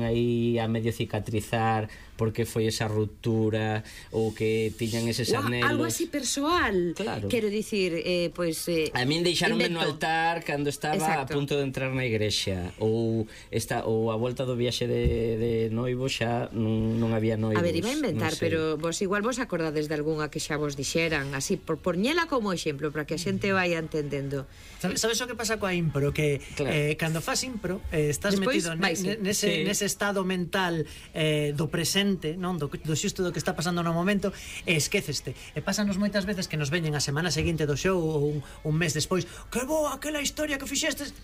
aí a medio cicatrizar porque foi esa ruptura ou que tiñan eses anhelos. Algo así persoal. Claro. Quero dicir, pois... A min deixaronme no altar cando estaba a punto de entrar na igrexa, ou a volta do viaxe de noivo xa non había noivos. A ver, iba a inventar, pero vos igual vos acordades de algunha que xa vos dixeran, así, por poñela como exemplo, para que a xente vaya entendendo. Sabes o que pasa coa impro? Que cando fas impro, estás despois, metido nese estado mental do presente, non do xusto do que está pasando no momento, e esquéceste. E pásanos moitas veces que nos veñen a semana seguinte do show ou un mes despois, que boa aquela historia que fixestes.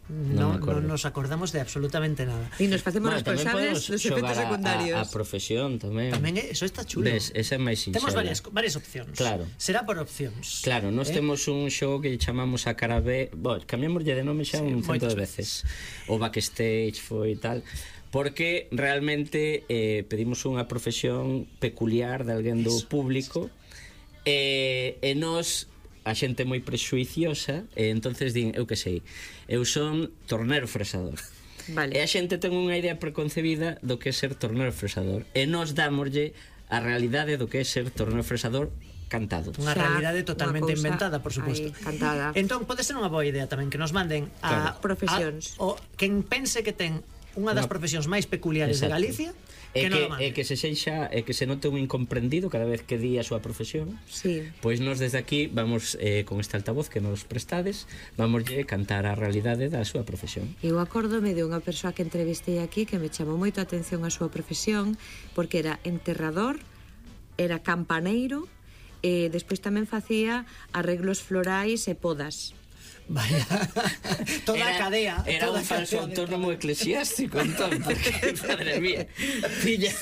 Non nos acordamos de absolutamente nada. E nos facemos responsables dos efectos secundarios. A profesión tamén. Tamén eso está chulo. Ves, esa é máis sinxela. Temos varias opcións. Claro. Será por opcións. Claro, nós temos un xogo que chamamos a cara B. Cambiamoslle de nome xa un cento de veces. O backstage foi tal. Porque realmente pedimos unha profesión peculiar de alguén do público e nós, a xente moi prexuiciosa, e entonces din, eu que sei, eu son tornero fresador. Vale. E a xente ten unha idea preconcebida do que é ser tornero fresador, e nós dámoslle a realidade do que é ser tornero fresador cantado. Unha realidade totalmente inventada, por suposto. Cantada. Entón, pode ser unha boa idea tamén que nos manden a profesións. O quen pense que ten unha das profesións máis peculiares de Galicia, que non lo mande. Que se seixa, que se note un incomprendido cada vez que di a súa profesión. Sí. Pois nós desde aquí vamos con este altavoz que nos prestades, vamoslle cantar a realidade da súa profesión. Eu acórdome de unha persoa que entrevistei aquí que me chamou moito a atención a súa profesión, porque era enterrador, era campaneiro e despois tamén facía arreglos florais e podas. Vaya, toda a cadea. Era un falso autónomo eclesiástico, entón, porque, madre mía, pilla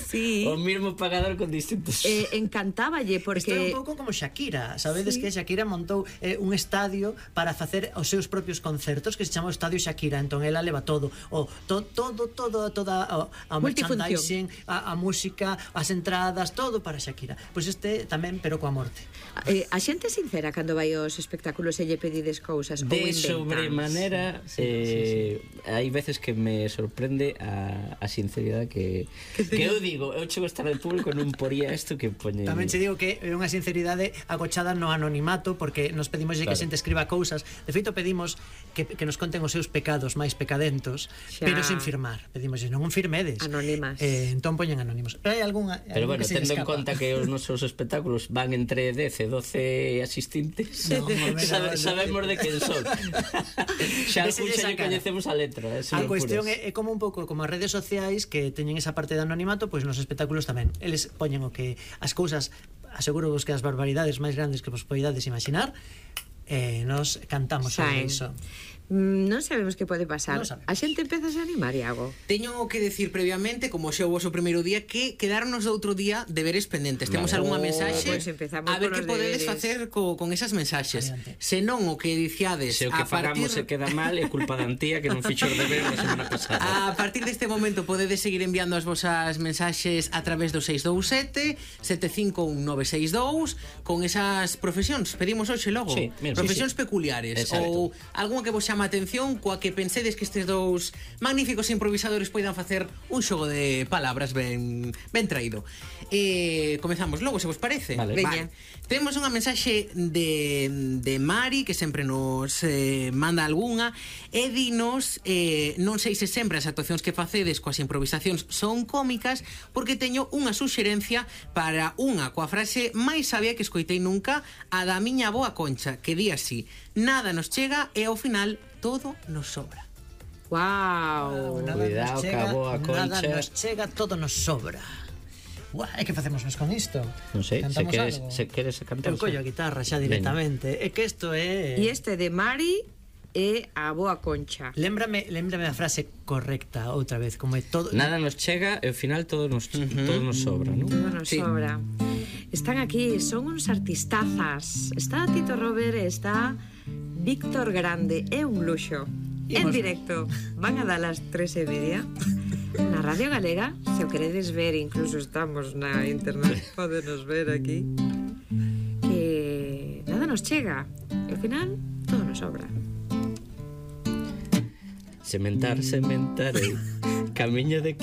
o mismo pagador con distintos... Encantáballe, porque... Isto é un pouco como Shakira, sabedes que Shakira montou un estadio para facer os seus propios concertos, que se chama o Estadio Shakira, entón ela leva todo, toda a merchandising, a música, as entradas, todo para Shakira. Pois este tamén, pero coa morte. A xente sincera cando vai aos espectáculos e lle pedides cousas de sobremanera, hai veces que me sorprende a sinceridade que eu digo, eu chego a estar de público e non poría isto que poñen. Tamén che digo que é unha sinceridade agochada no anonimato, porque nos pedimos que a xente escriba cousas. De feito pedimos que nos conten os seus pecados máis pecadentos, pero sin firmar. Pedimos non firmedes. Anónimas. Entón poñen anónimos. Pero hai algunha pero bueno, tendo en conta que os nosos espectáculos van entre 10 e 12 asistentes, sabemos de quen son. Xa lle coñecemos a letra. A cuestión é como un pouco como as redes sociais que teñen esa parte de anonimato, pois nos espectáculos tamén. Eles poñen o que as cousas, aseguro vos que as barbaridades máis grandes que vos poidades imaginar, nos cantamos sobre iso. Non sabemos que pode pasar. A xente empeza a animar, Iago. Teño que decir previamente, como xa o vosso primeiro día, que quedarnos do outro día deberes pendentes. Temos algunha mensaxe, a ver que podedes facer con esas mensaxes. Se non o que diciades, se o que fagamos se queda mal, é culpa da Antía que non fixo os deberes a semana pasada. A partir deste momento podedes seguir enviando as vosas mensaxes a través do 627 751 962 con esas profesións. Pedimos hoxe logo profesións peculiares ou algunha que vos chama a atención, coa que pensedes que estes dous magníficos improvisadores poidan facer un xogo de palabras ben traído. Comezamos logo, se vos parece. Vale. Temos unha mensaxe de Mari, que sempre nos manda algunha, e dinos, non sei se sempre as actuacións que facedes coas improvisacións son cómicas, porque teño unha suxerencia para unha coa frase máis sabia que escoitei nunca, a da miña boa Concha, que di así: nada nos chega e ao final todo nos sobra. Wow. Cuidado, cabo a Concha. Nada nos chega, todo nos sobra. E que facemos con isto? Non sei, se queres cantar. Eu collo a guitarra xa directamente. É que isto é... E este de Mari é a boa Concha. Lémbrame a frase correcta outra vez, como é todo... Nada nos chega e ao final todo nos sobra, non? Todo nos sobra. Están aquí, son uns artistazas. Está Tito Robert e está Víctor Grande. É un luxo. En directo. Van a dar as 3:30 na Radio Galega. Se o queredes ver, incluso estamos na internet, podenos ver aquí. Que nada nos chega e ao final todo nos sobra. Sementar, camiño de